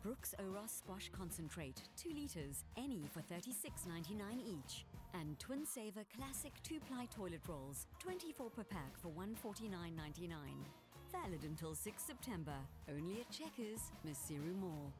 Brooks Oros Squash Concentrate, 2 litres, any for $36.99 each. And Twin Saver Classic 2-ply toilet rolls, 24 per pack for $149.99. Valid until 6 September. Only at Checkers, Maseru Mall.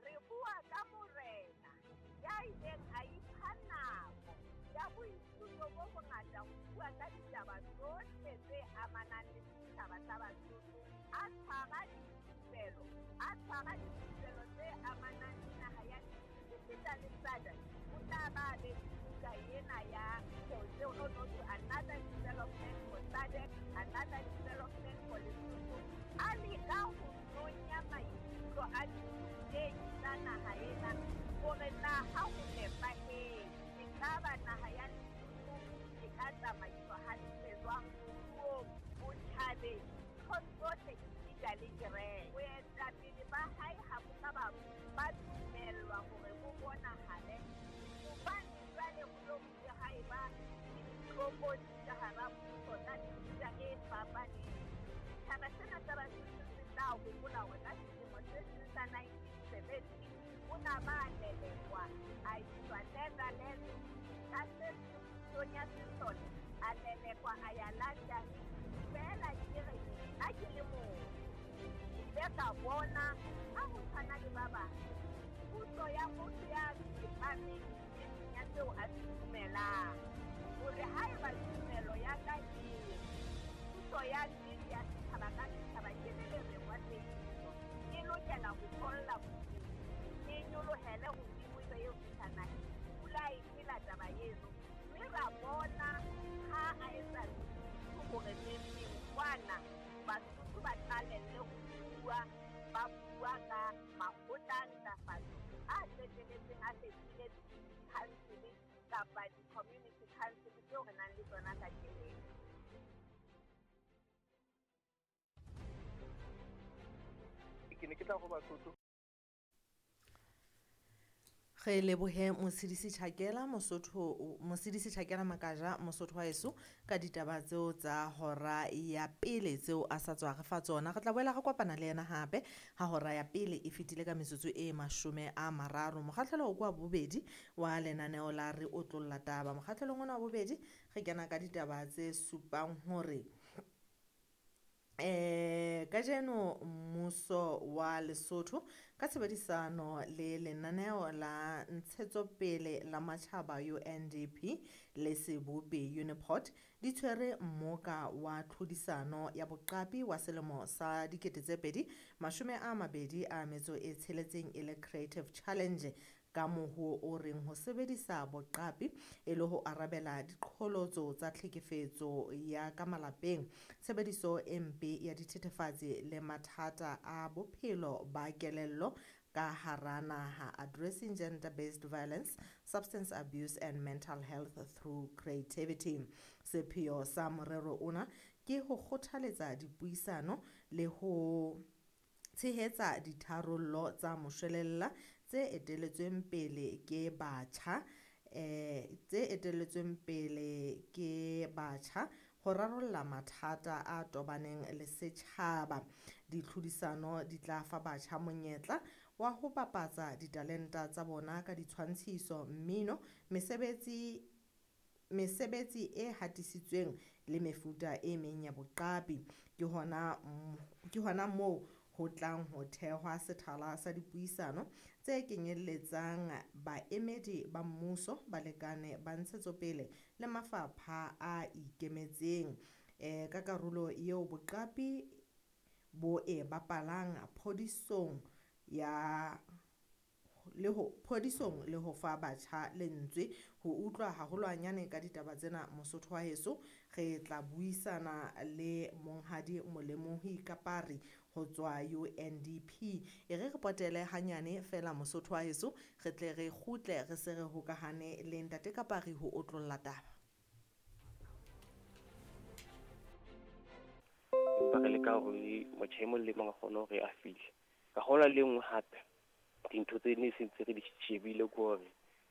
Re bua ka morena ya ileng a ipha nako ya boithuto bo bongata ho bua ka ditaba tsohle tse amanang le setjhaba sa Basotho, a tshwara dithupelo, a tshwara dithupelo tse amanang le naha ya esita le SADC. O tla ba be le buka ena ya another development for SADC, another development for Lesotho. A leka ho nonya maikutlo a dithutehi tsa naha ena hore na ha ho nepahetse, ekaba naha ya Lesotho e ka tsamaiswa hantle jwang moruong, botjhabeng, nthong tsohle esita le kereke. Boetapele ba hae ha bo ka ba dumellwa hore bo bonahale hobane jwale ho lo bile ha eba le ditlokotsi ka hara mmuso tsa mefuta e fapaneng. Setjhaba sena sa Basotho se tla hopola hore ka selemo se seng sa 1970 o na ba lelekwa a iswa Netherlands, ka se seng pusong ya sesole a lelekwa a ya London. Feela ke re nna ke le motho ke ile ka bona ha ho tshwana le ba bang puso ya motho ya tsepameng nneteng ya seo a se dumelang, hore haeba tumelo ya ka e re puso ya nnete ya setjhaba ka setjhaba ke le lereng wa tsebiso e lokela ho tholla bodimo, e nyolohele hodimo ebe eo fihla naheng. Pula e phela taba eno, mme ra bona ha a etsa hore neng kwana Basotho ba qalelle ho bua, ba bua ka makgotla a ntlafatso a qetelletseng a fetohile di-council kapa di-community council tseo re nang le tsona kajeno. Ke ne ke tla ho Basotho. Re lebohe Motshidisi Chakela Mosotho, Motshidisi Chakela Makaja Mosotho wa heso ka ditaba tseo tsa hora ya pele tseo a sa tswa re fa tsona. Re tla boela re kopana le yena hape ha hora ya pele e fetile ka metsotso e 30. Mokgahlelo o kwa bobedi wa lenaneo la Re Otlolla Taba. Mokgahlelong ona wa bobedi re kena ka ditaba tse supang hore kajeno mmuso wa Lesotho ka tshebedisano le lenaneo la ntshetsopele la matjhaba UNDP le sebopi Uniport di tshwere mmoka wa tlhodisano ya boqapi wa selemo sa 2026 e le Creative Challenge ka moho o reng ho sebedisa boqapi e le ho arabela diqholotso tsa tlhekefetso ya ka malapeng, tshebediso e mpe ya dithethefatsi le mathata a bophelo ba kelello ka hara naha, addressing gender-based violence, substance abuse and mental health through creativity. Sepheo sa morero ona ke ho kgothaletsa dipuisano le ho tshehetsa ditharollo tsa moshwelella tse etelletsweng pele ke batjha, tse etelletsweng pele ke batjha ho rarolla mathata a tobaneng le setjhaba. Ditlhodisano di tla fa batjha monyetla wa ho bapatsa ditalenta tsa bona ka ditshwantshiso, mmino, mesebetsi e hatisitsweng le mefuta e meng ya boqapi. Ke hona moo ho tlang ho thehwa sethala sa dipuisano tse kenyelletsang baemedi ba mmuso, balekane ba ntshetsopele le mafapha a ikemetseng. Ka karolo eo boqapi bo e bapalang phodisong ya le ho phodisong le ho fa batjha lentswe. Ho utlwa haholwanyane ka ditaba tsena Mosotho wa heso, re tla buisana le Monghadi Molemohi Kapari ho tswa UNDP. E re re potele hanyane fela Mosotho wa heso, re tle re kgutle re se re hokahane le Ntate Kapari ho otlolla taba. Empa re leka hore motjha e mong le mong a kgone hore a fihle. Ka hona le nngwe hape dintho tse ne se ntse re di shebile ke hore